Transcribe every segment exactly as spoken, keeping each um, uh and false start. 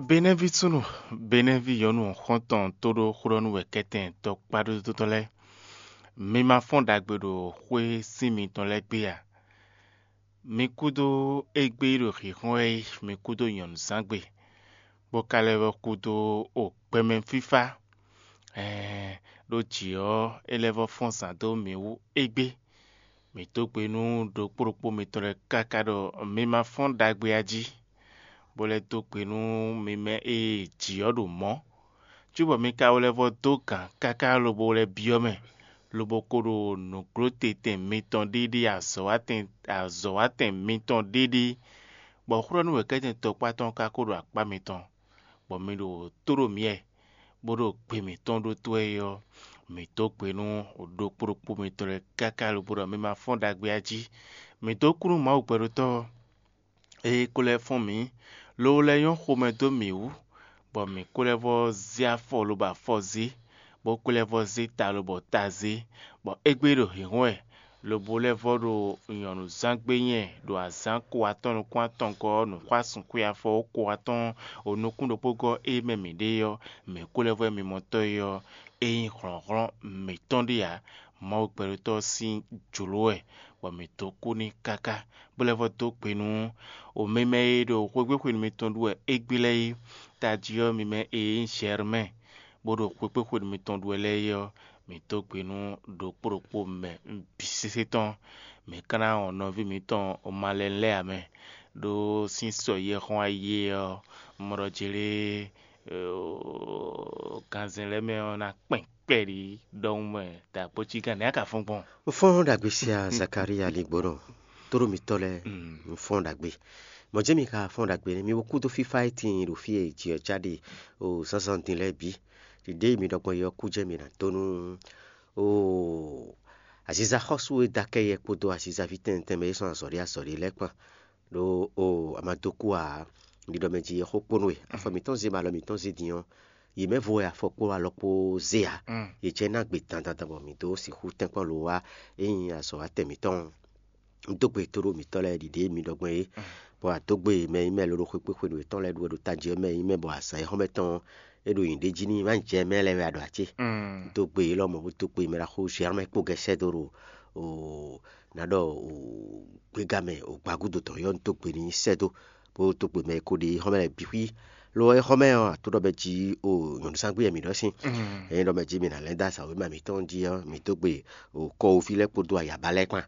Benɛ́ví súnnu, Benɛ́ví nyɔ̌nu xɔ́ntɔn tóɖó xwlɔ́nú wɛ kɛ́tɛn tɔkpáɖódótɔ́ lɛ́ɛ, mi ma fɔ́n ɖagbe ɖo xwé sín mitɔn lɛ́ɛ gbé a? Mi kúdó égbé e ɖo hǐnhɔ́n wɛ é, mi kúdó nyɔ̌nuzángbe, bó ka lɛ́ vɔ́ kúdó o gbɛmɛ fífá, ɛɛn, ɖó jǐ ɔ́, é lɛ́ vɔ́ fɔ́n zǎn dó mǐ wú égbé. Mǐ dó gbe nú ɖokpó ɖokpó mitɔn lɛ́ɛ káká ɖɔ mi ma fɔ́n ɖagbe a jí, bó lɛ́ dó gbe nú mi mɛ e jǐ ɔ́ ɖo mɔ̌, cóbɔ mi ka lɛ́ vɔ́ dó gǎn káká lobo lɛ́ byɔ́ mɛ, lobo ko ɖo nǔglótetɛn mitɔn ɖiɖi azɔ̌watɛn azɔ̌watɛn mitɔn ɖiɖi, bɔ xwlɔ́nú wěkɛ́tɛn tɔkpá tɔn ka ko ɖo akpá mitɔn, bɔ mi ɖo tó ɖo myɛ, bó ɖo gbe mǐtɔn ɖótó wɛ é ɔ́, mǐ dó gbe nú ɖokpó ɖokpó mitɔn lɛ́ɛ káká lobo ɖɔ mi ma fɔ́n ɖagbe a jí. Mǐ dó kú nú Mawu gbɛɖótɔ́ ɔ́, ée é ko lɛ́ fɔ́n mǐ, lobo lɛ́ nyɔ́ xomɛ dó mǐ wú, bɔ mǐ ko lɛ́ vɔ́ zé afɔ lobo afɔ zé, bó ko lɛ́ vɔ́ zé ta lobo ta zé, bɔ égbé ɖo hǐnhɔ́n wɛ, lobo lɛ́ vɔ́ ɖo nyɔ̌nuzángbe nyɛ ɖo azǎn ko atɔ́ɔ́n nukún atɔngɔ́ ɔ́ nǔxwásún xwe afɔ ko atɔ́ɔ́n o nukún ɖokpógɔ́ e mɛ mǐ ɖe ɔ́, mǐ kú lɛ́ vɔ́ mimɔtɔ́ e ɔ́, é nyí hlɔ̌nhlɔ́n mǐtɔn ɖé ǎ. Mawu gbɛɖótɔ́ sín jlǒ wɛ, bɔ mǐ dó kú n'i káká, bó lɛ́ vɔ́ dó gbe nú o mɛ mɛ e ɖo xwégbéxwenu mitɔn ɖu wɛ égbé lɛ́ɛ é. Tají ɔ́, mi mɛ e nyí Zɛrmɛ́ɛ, bó ɖo xwégbéxwenu mitɔn ɖu wɛ lɛ́ɛ é ɔ́, mǐ dó gbe nú ɖokpó ɖokpó mɛ bǐ sésé tɔn. Mǐ ka ná wɔn nɔví mǐtɔn Malɛnu lɛ́ɛ ǎ mɛ, ɖó sín sɔ e xɔ́n ayi é ɔ́, un mɔ ɖɔ jlé ganzɛn lɛ́ɛ mɛ ɔ́ ná kpɛn kpɛɖi ɖɔhun mɛ dǎkpócígán nɛ̌ a ka fɔ́n gbɔn? Un fɔ́n ɖagbe sia Zakalía ligbónɔ, tóɖó mitɔ́ lɛ́ɛ, un fɔ́n ɖagbe. Mɔ̌ jɛ́n mi ka fɔ́n ɖagbe nɛ́, mi bo kúdó fífá e tíin ɖo fí e jǐ ɔ́ cá ɖe o zǎnzǎn din lɛ́ɛ bǐ. Ɖiɖe e mi ɖɔ gbɔn é ɔ́ kú jɛ́n mi ná dó nú o aziza xɔ́sú e dó akɛ́yɛ kpódó azizaví tɛnmɛ tɛnmɛ e sɔ́ azɔ̌ ɖé azɔ̌ ɖé lɛ́ɛ kpán. Ɖó o a ma dó kú ǎ. Ɖiɖɔ mɛ jí é xó kpónú we. Afɔ mǐtɔn zé bɔ alɔ mǐtɔn zé din ɔ́, yě mɛ vo wɛ afɔ kpó alɔ kpó zé ǎ. Yě jɛ ná gbe dandandan bɔ mǐ dó sixú tɛ́nkpɔ́n lo wá é nyí azɔ̌watɛn mǐtɔn. Un dó gbe tóɖó mǐtɔn lɛ́ɛ ɖiɖe e mi ɖɔ gbɔn é, bɔ a dó gbe mɛ e nyí mɛ lóɖó xwé kpé xwenu yětɔn lɛ́ɛ ɖu wɛ ɖo tají ɔ́ mɛ e nyí mɛ bɔ azǎn e xɔ́mɛ tɔn é ɖo nyǐɖé jí n'i má jɛ mɛ lɛ́ɛ wɛ a ɖo acé. Un dó gbe élɔ́ mɔ̌ bó dó gbe mɛ ɖaxó Zɛrmɛ kpó gɛ́ sɛ́ dó ɖo o ná ɖɔ o gbéga mɛ o gbagúdo tɔn yɔ́ un dó gbe n'i sɛ́ dó bó dó gbe mɛ e ko ɖe é xɔ́mɛ lɛ́ɛ bǐ xwí. Lo é xɔ́mɛ ɔ́, a tó ɖɔ mɛ jí o nyɔ̌nuzángbe wɛ mǐ ɖɔ sín. Ényí ɖɔ mɛ jí mi ná lɛ́ dó azǎwe mɛ mǐtɔn jí ɔ́, mǐ dó gbe o kɔwóví lɛ́ɛ kpódó ayaba lɛ́ɛ kpán.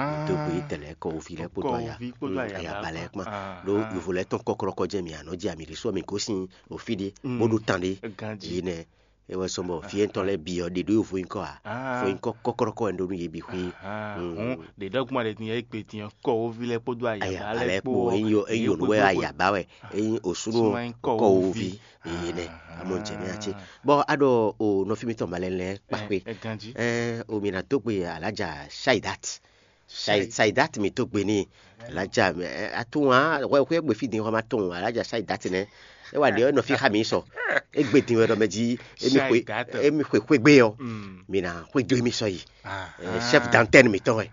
Mǐ dó gbe tɛlɛ kɔwóví lɛ́ɛ kpódó aya- kɔwóví kpódó mm, ayaba ayaba lɛ́ɛ lɛ́ɛ kpán. Kpán. Ɖó yovo lɛ́ɛ tɔn kɔ́klɔ́kɔ́ jɛ́n mi anɔ́ jɛ ami ɖésú mi gosín o fí ɖé bó ɖó tan ɖé. Ganjí. Yi nɛ é wɛ sɔn bɔ fí étɔn lɛ́ɛ bǐ ɔ́ ɖě ɖó yovo nyíkɔ ǎ. Fó nyíkɔ kɔ́klɔ́kɔ́ wɛ un ɖó nú yě bǐ xwé. Hǔn ɖě ɖɔ́gbɔn ɖě din ɔ́, é gbe din ɔ́, kɔwóví lɛ́ɛ kpódó ayaba ayaba lɛ́ɛ lɛ́ɛ kpó kpó ɔ́, é nyí o- é nyí yě onú wɛ kpódó ayaba wɛ é nyí osúnú o kɔwóví. Yě nɛ amɔ jɛ mɛ ati. Bɔ a ɖɔ o nɔfí mitɔn ma lɛ́ lɛ́ kpakpé. Ganjí. Ɛ o mi na dó gbe alájà Shaidat. Shaidat mi tó gbe ní alájà. Atún wa wɛ xwé gbe fí dín xɔ ma tɔn alájà Shaidat nɛ. E wa ɖe nɔ fi xa mi sɔ. E gbe dín wɛ ɖɔ mɛ jí emi xwe emi xwe xwe gbe yɔ. Mi na xwe do emi sɔ yi. Chef d'antenne mi tɔn wɛ.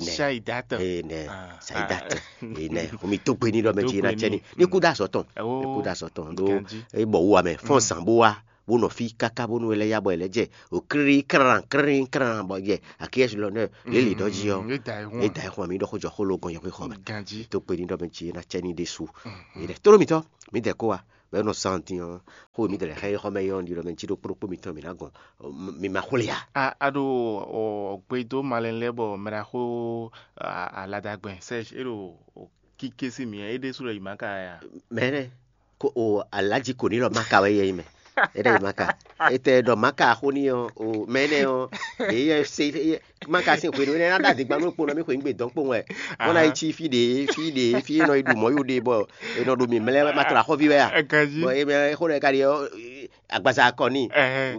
Shaidat. Ene Shaidat. Ene o mi tó gbe ní ɖɔ mɛ jí na cɛ ní ní kú dá sɔ tɔn. Ní kú dá sɔ tɔn ɖó e bɔ wu wa mɛ fɔn zan bó wa. Bó nɔ fí káká bónú é lɛ́ yá bɔ è lɛ́ jɛ o krírí krán krírí krán bɔ jɛ akíyɛ́sí lɔ nɛ lě lǐ ɖɔ jí ɔ́. É da ɛ xɔn mǐ ɖɔ xó jɔ xó ló gɔn yɔxwé xɔ mɛ. Tó kpe ní ɖɔ mɛ jí é ná cɛ ní ɖésú. È ɖɛ tló mitɔ́ mǐ dɛ kó wa bɔ é nɔ zán dín ɔ́ xó mǐ dɛ lɛ xá é xɔ mɛ yɔ́ ní ɖɔ mɛ jí ɖó kplókpó mitɔn mǐ ná gɔn. Mi ma xwlé ya. A ɖo gbedó malɛn lɛ́ɛ bɔ mɛ ɖaxó aladagbɛn sɛ é ɖo kíké sí mǐ é ɖésú lɔ yi má ka ya. Mɛ nɛ ko o alaji ko ní lɔ maka wɛ yɛ yi mɛ. Eɖe yi maka. Etɛ ɖɔ maka xó ní ɔ o mɛ nɛ ɔ ɖe yɛ se maka sin xwenu ne na ɖa digba nú kpɔnɔ mi xwe ŋgbe dɔn kpɔn wɛ. Wọn na yi tsi fi ɖe fi ɖe fi nɔ yi ɖu mɔ yo ɖe bɔ enɔ ɖo mi mlɛ ma tra xɔvi wɛ ya. Bɔ e mɛ xó ɖe ka ɖi ɔ agbaza kɔ ni.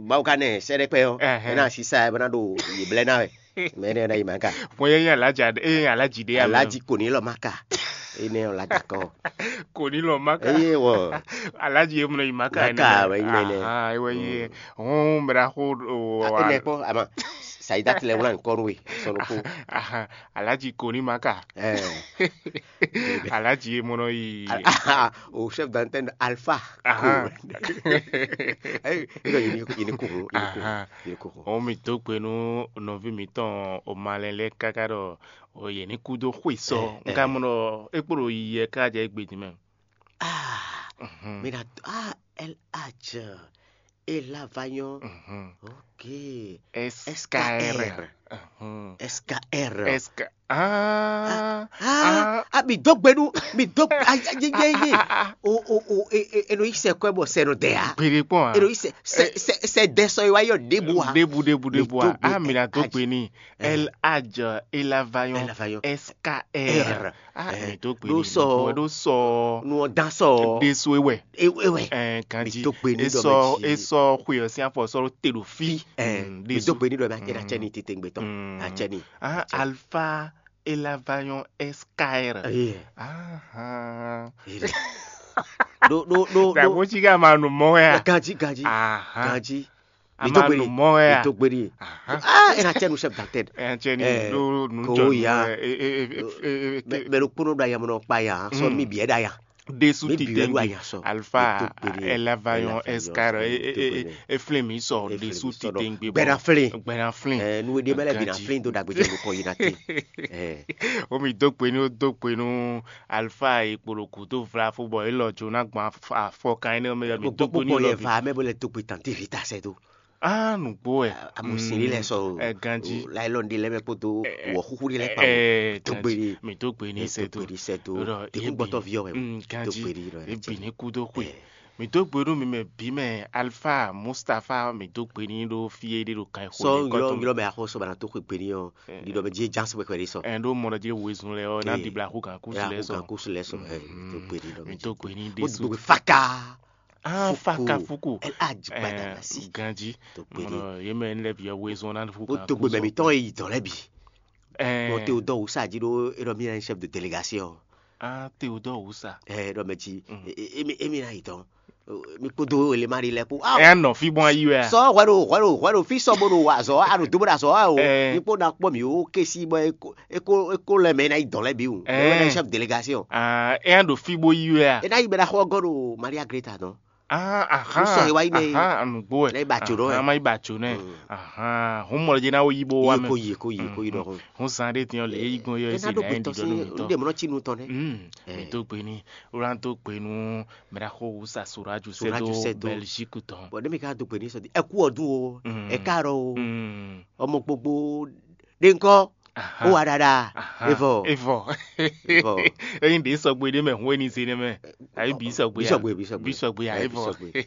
Mawu ka nɛ sɛ ɖe kpɛ ɔ ena sisa ɛ bɔ na ɖo yi blɛ na wɛ. Mɛ ɖe na yi ma ka. Mɔ yɛ yɛ alaji ɖe yɛ alaji ɖe ya mɛ. Alaji ko ni lɔ ma ka. Ene ɔ la dakɔ. Ko ni lɔ ma ka. Eye wɔ. Alaji ye mɔ yi ma ka. Ma ka wɛ yi mɛ nɛ. Ewɛ yi. Hɔn mɛ ɖa xo o. Ene kpɔ ama. Sayidat lɛ wlán nǔkɔ nú we sɔnukú. Ahan, Alhaji Koni Maka. Ɛɛ. Alhaji e mɔ nɔ yi. O chef d'antenne Alpha. Ahan. Ayi, ilo yini yini kuhu yini kuhu Ahan. Yini kuhu. O mi dó gbe nú nɔví mǐtɔn o malɛ lɛ́ɛ káká ɖɔ o yě ní kú dó xwe sɔ. Ɛ, Un ka ɛ. Mɔ ɖɔ é kpo ɖo yiyi ɛ ká jɛ égbé din mɛ. Ah, Mhm. Mira, ah, L H. Elavanyɔ. Mhm. Ok. S K R. S K R. Mhm. S K R. S K. Ah. Ah, ah, mi dó gbe nú, mi dó, ah, ye, ye, ye. O, o, o, e, e, e nɔ yi sɛ kɔɛ bɔ sɛ nɔ dɛ ya. Gbede kpɔn a? E nɔ yi sɛ, sɛ, sɛ, sɛ dɛ sɔ yi wa yɔ ɖebu a. Ɖebu, ɖebu, Mi ɖebu a. dó gbe Ah, mi na dó aji. Gbe ni. L H Elavanyɔ. Elavanyɔ. S K R. Ah, mi dó gbe ni. Ɖó sɔ. Ɖó sɔ. Nú ɔ dán sɔ. Ɖésú ewɛ. Ewɛ. Ɛ, ganji. Mi dó gbe ni ɖɔ mɛ jí. E sɔ xwe ɔ sín afɔ sɔ ɖo te ɖo fí. Ɛ, Mm, mi dó gbe ni ɖɔ mɛ ake na cɛ ni tete gbetɔ. Mm. Acɛ ni. Ah, Alpha Elavanyɔ S K R. Ayi. Ahan. Ɖo ɖo ɖo ɖo. Dàgbò tí ká máa nù mọ́ wɛ a? Ganji ganji. Ahan. Ganji. A Mi dó máa gbe nù ni. Mọ́ wɛ Mi a? Dó gbe ni. Ahan. Ah, e na cɛ nu chef d'antenne. Ɛ cɛ ni Eh, ɖo nu ko jɔ nu ya. Ɛ, ɛ, ɛ, ɛ, ɛ, ɛ, Mɛ mɛ ɖokpónɔ ɖo ayamɔ nɔ kpa ya, sɔ Mm. mi biɛ ɖo aya. Ɖésú Mi biɛ ɖo titengbe. Aya sɔ. Alpha Mi dó gbe ni. Elavanyɔ Elavanyɔ S K R. Ɛ, ɛ, ɛ, ɛ, Eflin mi sɔ. Eflin mi Ɖésú sɔ ɖɔ. Titengbe. Gbɛɖa flin. Gbɛna flin. Ɛ, nu e ɖe mɛ lɛ bi na Ganji. Flin do ɖagbe jɛ nukɔ yi na te. Ɛ. O mi dó gbe nú, dó gbe nú Alpha e kpo ɖo gǔdo vlafo bɔ é lɔ jó ná gbɔn afɔ, afɔ kan énɛ́ mɛ ɔ́, mi dó gbe nú Gbogbo yɛ lɔ bǐ. Va mɛ bo lɛ dó gbe tante Rita sɛ do. Ah, nǔgbó wɛ. Amusin ɖé lɛ sɔ o. Ɛ, ganji. Laylɔn ɖé lɛ mɛ kpódó Ɛ, wɔxúxú ɖé lɛ kpa ɛ, o. Dó gbe ganji. Ni. Mi dó gbe ní Ɛ, sɛ dó do. Gbe ní sɛ do. Ɖɔ Tɛkún yé gbɔtɔ bi. Viɔ wɛ. Mm, Dó ganji. Gbe ní ɖɔ Yé ɛ bi ní kú dó xwe. Ɛ. Mi dó gbe nú mi mɛ bǐ mɛ Alpha Mustapha, mi dó gbe ní ɖó fí é ɖé ɖo kan Sɔ xó ylɔ ɖo ylɔ mɛ axɔ sɔ bana tó xwe gbe ní ɔ. Ɛ. Ɖiɖɔ mɛ jí ján sɔ pɛpɛ ɖé sɔ. Ɛ ɖó mɔ ɖɔ jí wezun lɛ ɔ ná Ɛ. Ɖibla xó kan kú Ya si lɛ xó sɔ. Kan kú si lɛ sɔ. Ɛ, Mm, mi dó gbe ní ɖé Mi dó sɔ. Gbe faka. Ah, Fuku. Faka Fuku. El Hadj Ɛ, Badamasi. Ganji. Tó péré. Mɔ yé mɛ lɛ bi ɔ wezun ná Fuku. Ó tó gbé mɛ mitɔn yi dɔn lɛ bi. Ɛ. Mɔ te o dɔ wusa jí ɖó é ɖɔ mi yɛ chef de délégation. Ah, te o dɔ wusa. Ɛ ɖɔ mɛ jí. Mm. Emi emi na yi dɔn. Mi kpódó ele ma ɖi lɛ kpó. Ah, Ɛ nɔ fi bɔn ayi wɛ. Sɔ hwɛ ɖo hwɛ ɖo hwɛ ɖo fi sɔ bó ɖo azɔ a ɖo dó bó ɖo azɔ a o. Ɛ. Mi kpó na kpɔ mi o kesi bɔ eko eko eko lɛ mɛ na yi dɔn lɛ bi o. Ɛ. Ɛ na chef délégation. Ah, ɛ ɖo fi bó yi wɛ a. E na yi bɛ na xɔ gɔ ɖo Maria Greta dɔn. Ah, aha. Sɔ e wa yi nɛ. Aha, anugbo wɛ. Ne yi ba tso ɖɔ wɛ. Aha, ma yi ba tso nɛ. Mm. Aha, hun mɔ jɛ na wo yi bo wa Yi mɛ. Ko yi ko yi ko yi dɔn. Hun san ɖe tiɲɔ le yi gbɔn yɔ E esi na ɖo na gbetɔ yin si ɖiɖɔ nu ɖe mɔ nɔ ci nu tɔn nɛ. Mm. Ɛ. Mi do gbe ni, wlan do gbe nu, mɛ ɖa xo wusa Soraju Soraju sɛ do sɛ do. Belgique tɔn. Bɔn ne mi ka do gbe ni sɔ di, ɛku ɔ dun o, Mm. ɛka rɔ o, Mm. ɔmɔ gbogbo ɖe ŋkɔ, Aha. Ó wa ɖaɖa. Aha. Evɔ. Evɔ. Evɔ. Eyin ɖe sɔgbe ɖe mɛ hun eni se ɖe mɛ. Ayi bi sɔgbe. Bi sɔgbe, bi sɔgbe. Bi sɔgbe ya Ɛ, bi evɔ. Sɔgbe.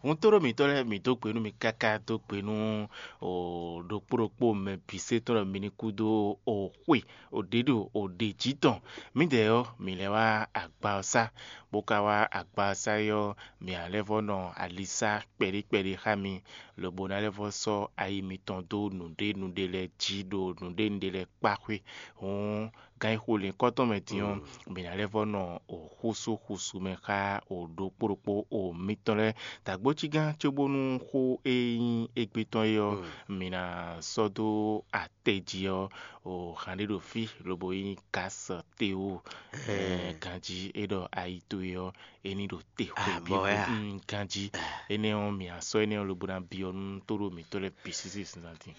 Hun to ɖo mitɔ lɛ mi do gbe nu mi kaka do gbe nu o ɖokpo ɖokpo mɛ bi se tɔn mi ni kudo o xwe o ɖe ɖo o ɖe ji tɔn. Mi dɛ yɔ mi lɛ wa agba ɔ sa. Bo ka wa agba ɔ sa yɔ mi alɛ vɔ nɔ alisa kpɛɖe kpɛɖe xa mi. Lobo ná lɛ́ vɔ sɔ́ ayi mitɔn dó nǔɖé nǔɖé lɛ́ɛ jí ɖo nǔɖé nǔɖé lɛ́ɛ kpá xwé. Hǔn, gan e xo lǐnkɔ́ tɔn mɛ din ɔ́, mǐ ná lɛ́ vɔ nɔ o xúsú xúsú mɛ xá o ɖokpó ɖokpó o mitɔn lɛ́ɛ. Dǎgbócígán cóbónú xó e nyí égbé tɔn é ɔ́, mǐ ná sɔ́ dó atɛ jí ɔ́, o hǎn ɖé ɖo fí, lobo nyí Gǎs Tewu, ganjí é ɖɔ ayi towe ɔ́, é ní ɖo te xwebǐ. Ganjí énɛ́ ɔ́, mǐ ná sɔ́ énɛ́ ɔ́ lobo ná byɔ́ nú tóɖó mǐtɔn lɛ́ɛ bǐ sísí zǎn din.